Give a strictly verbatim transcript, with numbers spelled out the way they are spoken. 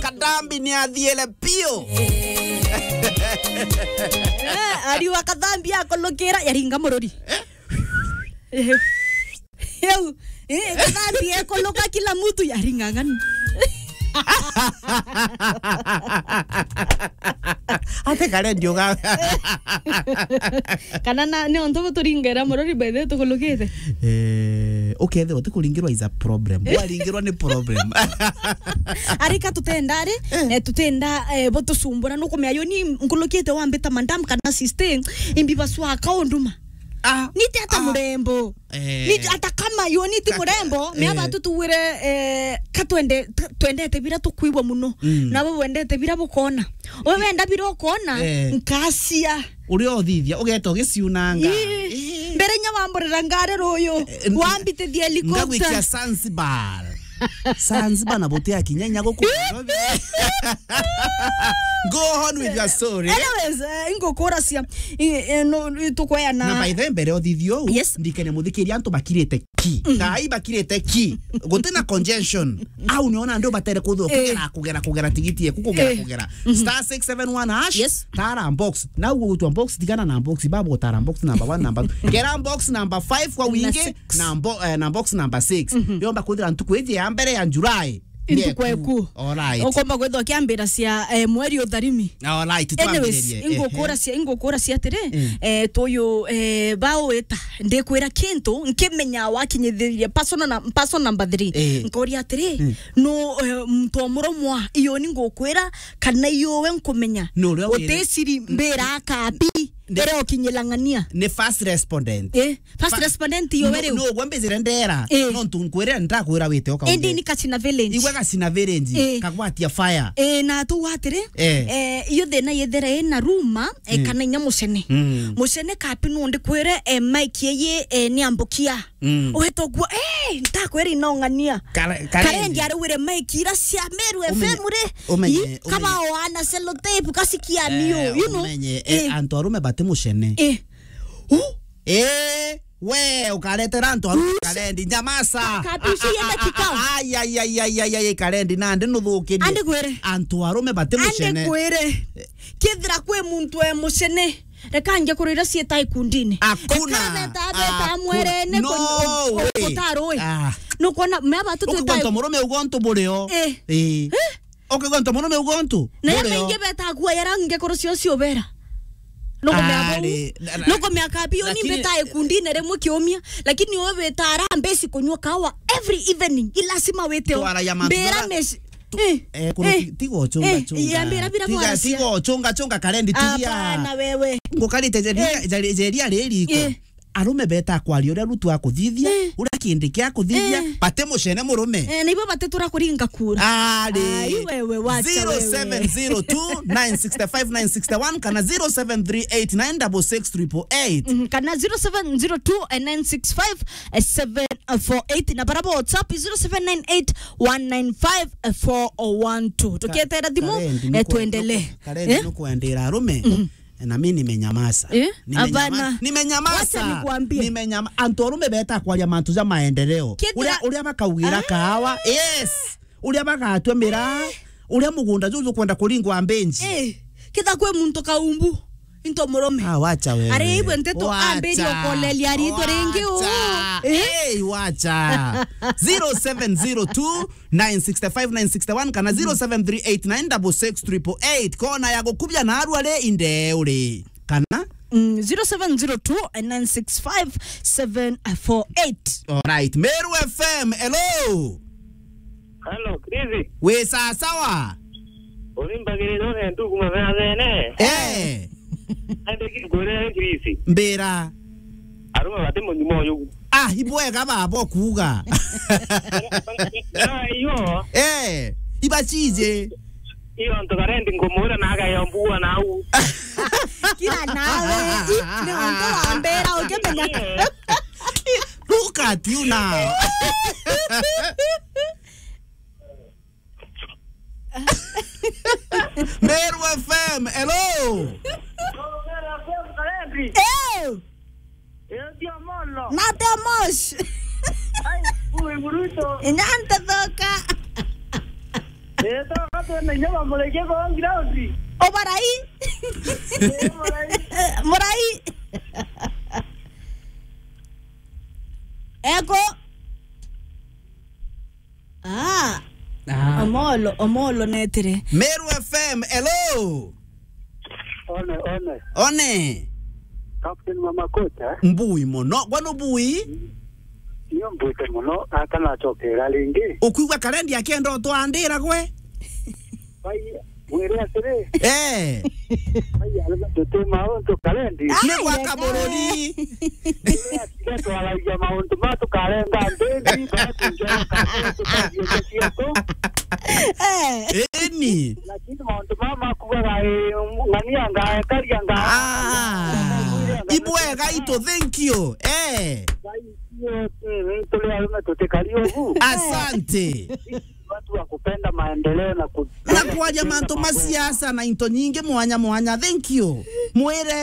Kadhambi ni athiele pio. Eh, ariwa Kadhambi akolokera, yaringa murori. Eh? Yau, eh, Kadhambi ekoloka kila mtu yaringa ng'ani. Ate kare ndio ga. Kana na, ni onto turingera murori by the way tukulukite. Eh, ukethirwa utikuringirwa is a problem. Waringirwa ni problem. Arika tutenda ari, eh, tutenda, eh, butusumbura nukumea yo ni nkulukite wambita madam kana sister, imbi baswa kaunduma. Ah, nite ata ah, murembo. Eh. Nite ata kama yo niti murembo, me aba tutuwire, eh, ka twende, t-, twendete bira tukwigwa muno. Mm. Na we wendete bira bukona. We wenda bira ukona, eh, nkasia. Uria uthithia, ugeta ugiciunanga. Ii. Ii. Mbere nya wamborera ngari ruyu, eh, n-, wambitithia helicopter. Ngagwikia Zanzibar. Zanzibar na buti akinya inya guku Nairobi. Go on with your story. Anyways, eh, ingukuracia, i-, eh, no, tukweana. Na by the way, mbere uthithio, yes, ndikene muthikiria antu bakirite ki. Mm. Thaa ii bakirite ki. Guti na congestion. Au niona ndio batere kuthwo, eh, kugera, kugera, kugera tigiti yeku, kugera, eh, kugera. Mhm. Star six seven one hash, yes, tara box. Na ugutwa box, tigana na box, babu gutara box number one, number two. Kera box number five kwa wingi, na six. Na bo-, eh, na box number six. Mhm. Yomba kuthira ntuku iji ya mbere ya July. Ntuku eku. Alright. Ukomba kwithwa kiambira cia, eh, mweri utharimi. Alright, anyways, twambiririe. Ingukura cia, ingukura cia atiri, mm, eh, tuyu, eh, bawita, ndikwira kintu, nkimenya wakinyithiria personal na, personal number three. Eh. Nkoria atiri, mm, no, eh, muntu omuromwa, iyo ni ngukwira, kana iyo we nkumenya. No, uria wire- utisiri mbira akapi, mbere ukinyilang'ania. Ni first respondent. Eh. First respondent yo we riu. No, no, gwa mbizire ndera. Eh. No ntu nkwire, ndakwira wite uka. Indi ni Kasina Village. Igwe Kasina Village, eh, kagwatia fire. Eh, na tu atiri, eh, eh, iyo thina yethera ina ruma, eh, mm, kana inya mucene. Mm. Mucene kapi no ndikwire, eh, mic yeye, eh, ni ambukia. Mm. Uhete ugwo, eh, ndakwira inong'ania. Kare-, Karendi. Karendi arugwire mic ira cia Meru F M ri. Umenye, umenye, kaba oana sellotape kasikia nio, eh, you know. Umenye, eh, eh, antu arume bati mucene. Eh. Uh? Eh, we, ukaretera antu arume Karendi, nyamasa. Kabici yenda kikao. Ai, ai, ai, Karendi, nandi nuthukirie. Andi kwire. Antu arume bati mucene. Andi kwire. Kethira kwi muntu e mucene, reka nje kurira cieta ikundine. Hakuna. Reka beta, beta hakuna mwerene. No way. Ah. Nukwona, me aba tu twita. Ukigwa ntu murume ugo ntu burio. Eh. Eh. Eh? Ukigwa ntu murume ugo ntu. Na ya burio. Maingi beta kuwa yara nge kuru cio cio bera. Nukumea bau. Ari, na, na, nukumea kabi yo ni lakini beta ikundine rimwe kiumia, lakini wewe beta arambesi kunywa kawa every evening. Ilasima wite o. Twara ya mantu mbira bara- mes-, tu-, eh, eh, kuru eh, ti-, tigo chunga eh, chunga. Ya mbira bira tiga, bwara cia. Tigo chunga chunga Karendi tiria. Hapana wewe. Ngukarite jeria, eh, jeria, jeria riri iko. Eh. Arume beta kwaria uria rutu akuthithia, eh, uria kindi kia kuthithia, eh, bate mucene murume. Eh, nibo bate tura kuringa kura. Ari. Ai, wewe, wacha wewe. Zero seven zero two nine six five nine six one kana zero seven three eight nine double six triple eight. Mhm, kana zero seven zero two nine six five seven four eight, na bara WhatsApp zero seven nine eight one nine five four one two. Ka-, tukietera thimu, Karendi, eh, nuku-, tuendelee. Nuku-, Karendi, eh? Nukuendera arume. Mhm. Na mimi nimenyamaza. Eh? Nimenyama-, hapana. Nimenyamaza. Wacha nikwambie. Nimenyama-, antu arume beta kwaria mantu ja maendeleo. Kethira uria, uria bakaugira ah, kahawa. Yes. Uria bagatua miraa. Eh. Uria mugunda juju kwenda kuringwa mbenji. Eh. Kitha kwi muntu kaumbu. Into murume. Ah, wacha wewe. Ari ibwe nteto wacha. Ambiri okolelia ritwa ringi u. Wacha. Eh? Hey, wacha. Zero seven zero two nine six five nine six one kana zero seven three eight nine double six triple eight. Kona ya gukubia na arua ri inde uri. Kana? Mm, zero seven zero two nine six five seven four eight. Alright. Meru F M, hello. Hello, Chris. Wi sawa sawa? Urimbagirira une ndugu mathethene. Eh. Ende kingurire Chris. Mbira. Arume bati munyuma uyu. Ah, ibwega baba okuuga. Ah, iyo. Eh, ibacije. Iyo ntu Karendi nkumwira na agaya mbua nau. Kira nawe, i, ni untu wa mbira ukimenya. Look at you now. Meru F M, hello. Eh! Nate Omosh. Inyante thoka. Ito, katwene nyama mureke kwa ground. Obarai. Murai. Murai. Eko. Ah. Ah. Omolo, Omolo netire. Meru F M, hello. One, one. One. Captain Mama Kocha. Mbui mono. Gwanu bui? Nio mbwite mono, ata nacokera ringi. Ukwigua karendi akienda utwandira gwe? Bai, mwire atiri. Eh. Bai, arega tuti mauntu karendi. Ni gwaka bururi. Ira twaragia mauntu ma tukarenga ndindi, bara tunjoroka, tukagia cietu. Eh. Eni. Lakini mauntu mama makugaga, eh, ng'ania ngaekaria nga- Ah. Ibwega itu, thank you. Eh. Ngai, mm, tuli arume tutikari ugu. Asante. Watu wa kupenda maendeleo na ku- Na kwaria mantu ma siasa na into nyingi mwanya mwanya. Thank you. Mwire